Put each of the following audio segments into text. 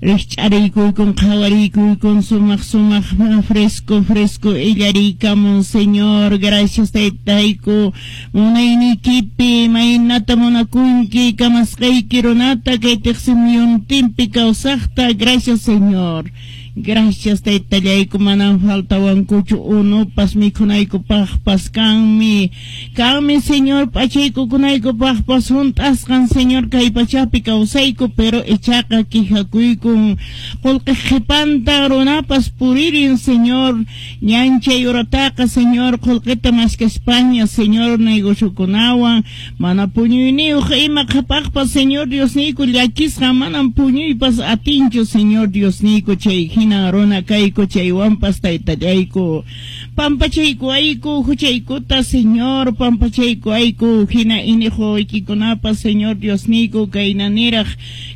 Rikch'ariykuykun qhawariykuykun sumaq sumaq fresco fresco illariykamun Señor. Gracias taytayku munayniykipi imaynata munakunki kamasqayki runata kay tiqsimuyuntinpi kawsaqta. Gracias Señor. Gracias taytallayku manam faltawankuchu unupas mikhunaykupaqpas kanmi. Kanmi Señor p'achaykukunaykupaqpas hunt'asqan Señor kay pachapi kawsayku pero ichaqa quejakuykun qullqi qhipanta runapas puririn Señor ñanchay urataqa Señor qullqita maskaspaña Señor negociokunawan mana puñuyniyuq ima qhapaqpas Señor Diosniyku llakisqa manam puñuypas atinchu Señor Diosniyku chay hinan runa kayku chaywanpas taytallayku pampachaykuwayku huchaykuta Señor pampachaykuwayku hina iniq wawaykikunapas Señor Diosniyku kayna niraq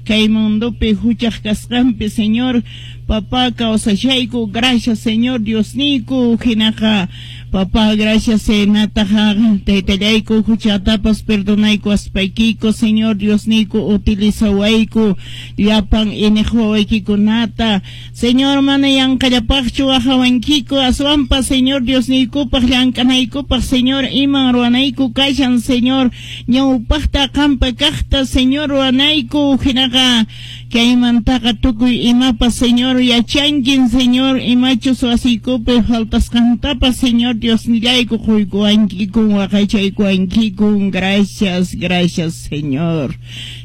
kay mundopi huchaq kasqanpi Señor papá kawsashayku. Gracias Señor Diosniyku hinaqa papá gracias hinataqa taytallayku huchatapas perdonaykuwaspaykiku Señor Diosniyku utilizawayku llapan iniq wawaykikunata Señor mana yanqallapaqchu waqawankiku aswanpas Señor Diosniykupaq llank'anaykupaq Señor iman ruwanayku kashan Señor ñawpaqta qampa kaqta Señor ruwanayku hinaqa kaymantaqa tukuy imapas Señor yachankin Señor imachus wasiykupi faltasqantapas Señor Diosnillayku quykuwankikun waqaychaykuwankikun. Gracias, gracias Señor.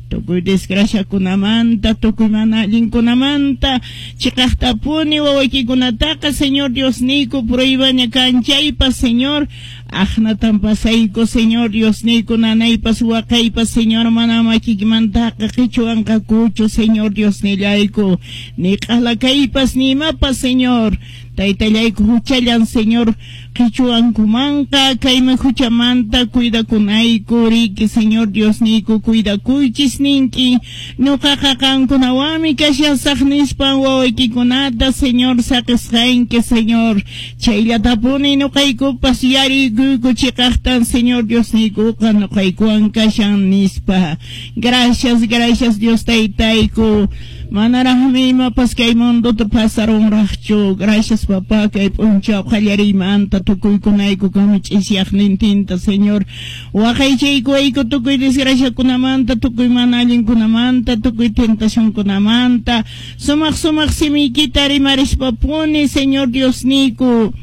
Tukuy desgraciakunamanta, tukuy mana allinkunamanta, chiqaqtapuni wawaykikunataqa Señor Diosniyku pruebaña kan chaypas Señor, aqnatan pasayku Señor Diosniyku nanaypas waqaypas Señor mana makikimantaqa qichuwanqakuchu Señor Diosnillayku, ni q'ala kaypas ni imapas Señor, taytallayku huchallan Señor qichuwankumanqa kaymi huchamanta cuidakunayku riki Señor Diosniyku cuidakuychis ninki ñuqaqa qankunawanmi kashasaq nispan wawaykikunata Señor saqisqanki Señor chayllatapuni ñuqaykupas yariykuyku chiqaqtan Señor Diosniykuqa ñuqaykuwan kashan nispa. Gracias, gracias Dios taytayku. Manaraqmi imapas kay mundota pasarunraqchu. Gracias papá kay p'unchaw qallariymanta tukuykunayku kami ch'isyaqnintinta Señor. Waqaychaykuwayku tukuy desgraciakunamanta, tukuy mana allinkunamanta, tukuy tentacionkunamanta. Sumaq sumaq simiykita rimarispa-puni Señor Diosniyku.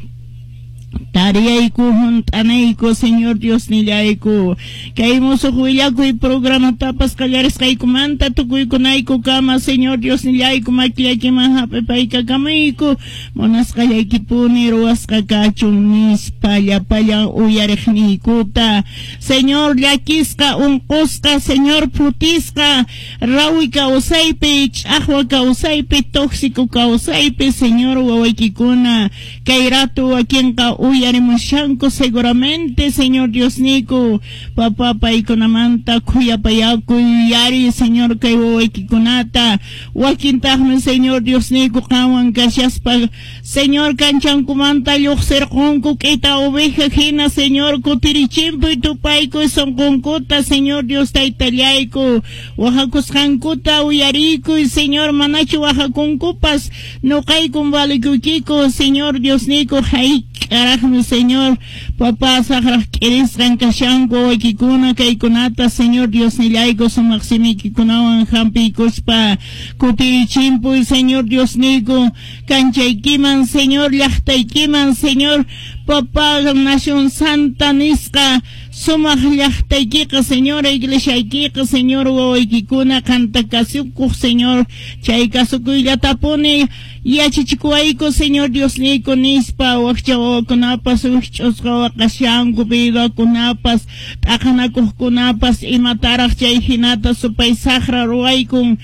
Tariyayku hunt'anayku Señor Diosnillayku kay musuq willakuy programatapas qallarisqaykumanta tukuykunayku kama Señor Diosnillayku makillaykiman hap'ipaykakamuyku munasqallaykipuni ruwasqa kachun nispa llapallan uyariqniykuta Señor llakisqa unqusqa Señor phutisqa rawi kawsaypi ch'aqwa kawsaypi tóxico kawsaypi Señor wawaykikuna kay rato wakinqa uyarimushanku seguramente Señor Diosniyku papá paykunamanta khuyapayakuy yari Señor kay wawaykikunata wakintaqmi Señor Diosniyku qanwan kashaspa Señor kanchankumanta lluqsirqunku k'ita oveja hina Señor kutirichimpuy tupaykuy sunqunkuta Señor Dios taytallayku wajakusqankuta uyariykuy Señor manachu wajakunkupas ñuqaykun valikuykiku Señor Diosniyku hayk'araqmi Señor papá saqraq k'irisqan kashanku wawaykikuna kaykunata Señor Diosnillayku sumaq simiykikunawan hampiykuspa kutirichimpuy Señor Diosniyku kanchaykiman Señor llaqtaykiman Señor papá nación santa nisqa sumaq llaqtaykiqa Señor iglesiaykiqa Señor wawaykikuna qanta kasukuq Señor chay kasukuyllatapuni yachachikuwayku Señor Diosniyku nispa wakcha wawakunapas wikch'usqa waqashanku viudakunapas t'aqanakuqkunapas imataraq chay hinata supay saqra ruwaykun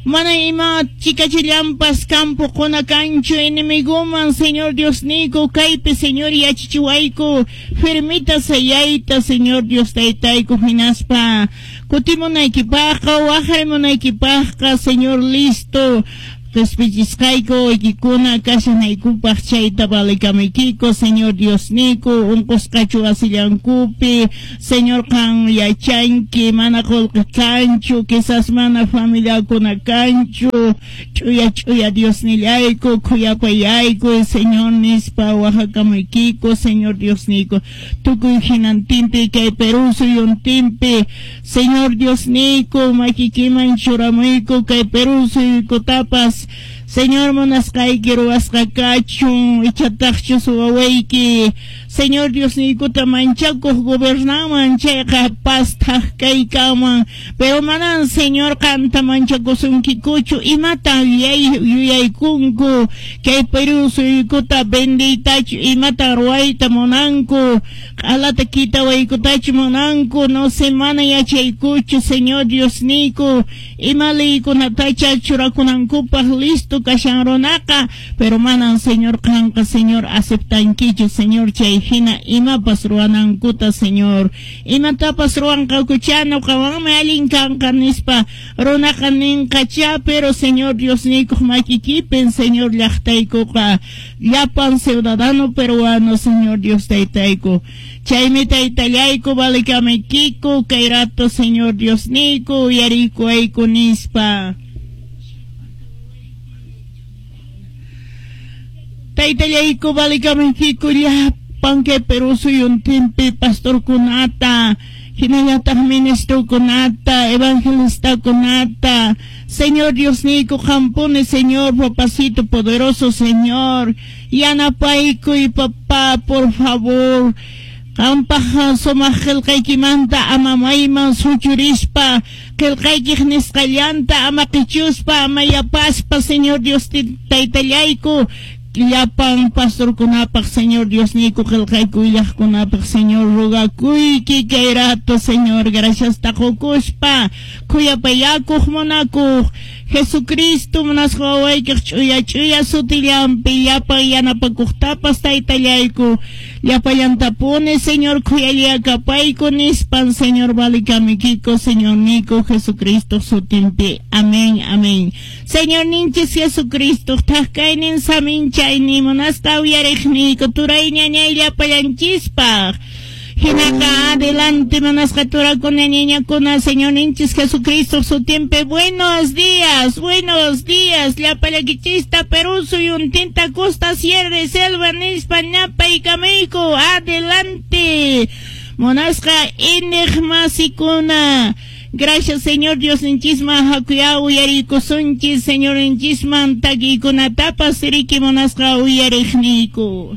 mana ima chikachillanpas campo quna kanchu enemiguman Señor Diosniyku kaypi Señor yachachiwayku firmita sayayta Señor Dios taytayku hinaspa kutimunaykipaqqa waqarimunaykipaqqa Señor listo Qespichisqayku waykikuna kashanaykupaq chayta valekamaykiku, Señor Diosniyku, unqusqachu wasillankupi, Señor qan yachanki, mana qullqi kanchu, quizás mana familiakuna kanchu, ch'uya ch'uya Diosnillayku, khuyapayayku, Señor nispa waqakamaykiku, Señor Diosniyku, tukuy hinantinpi kay Perú suyuntinpi, Señor Diosniyku, makikiman churamuyku kay Perú suyukutapas, Señor munasqayki ruwasqa kachun, ichataqchus wawayki, Señor Diosniykuta manchakuq gobernanman chayqa paz thak kaykanman, pero manan Señor qanta manchakusunkikuchu, imatan yuyaykunku kay Perú suyukuta vendiytachu, imatan ruwayta munanku, q'alata kitawaykutachu munanku, no sé, mana yachaykuchu, Señor Diosniyku, ima leykunatacha churakunankupaq listo kashan runaqa, pero manan Señor qanqa, Señor, aceptankichu, Señor, chay hina imapas ruwanankuta, Señor, imatapas ruwanqakucha, ñuqawanmi allin kanqa nispa runaqa ninqacha, pero Señor Diosniykuq makikipin, Señor, llaqtaykuqa, llapan ciudadano peruano, Señor Dios taytayku, chaymi taytallayku valekamaykiko kay rato, Señor Diosniyku, uyariykuwayku nispa. Taytallayku valekamaykiku llapan kay Perú suyuntinpi pastorkunata, hinallataq ministrokunata, evangelistakunata, Señor Diosniyku qampuni, Señor, papacito poderoso, Señor, yanapaykuy, papá, por favor, qampaq sumaq qillqaykimanta ama mayman suchurispa, qillqaykiq nisqallanta ama qichuspa, ama yapaspa, Señor Dios taytallayku, llapan pastorkunapaq, Señor Diosniyku, qillqayku willaqkunapaq, Señor, rogakuyki kay rato, Señor, graciasta qukuspa, khuyapayakuq munakuq, Jesucristo munasqa wawaykiq ch'uya ch'uya sutillanpi llapan yanapakuqtapas taytallayku, llapallantapuni, Señor, khuyallakapayku nispan, Señor, valikamikiko, Señorniyku Jesucristo sutinpi. Amén, amén. Señor ninchis Jesucristo, thak kaynin saminchaynin munasqa uyariqniyku turay ñañay llapallanchispaq. Hinaqa adelante munasqa turakuna ñañakuna, Señor ninchis Jesucristo sutinpi. Buenos días, llapallakichista Perú suyuntinta costa, sierra, selva nispa napaykamayku. Adelante. Munasqa iñiq masikuna. Gracias, Señor Dios ninchisman hakuya uyarikusunchis, Señor ninchisman takikunatapas riki munasqa uyariqniyku.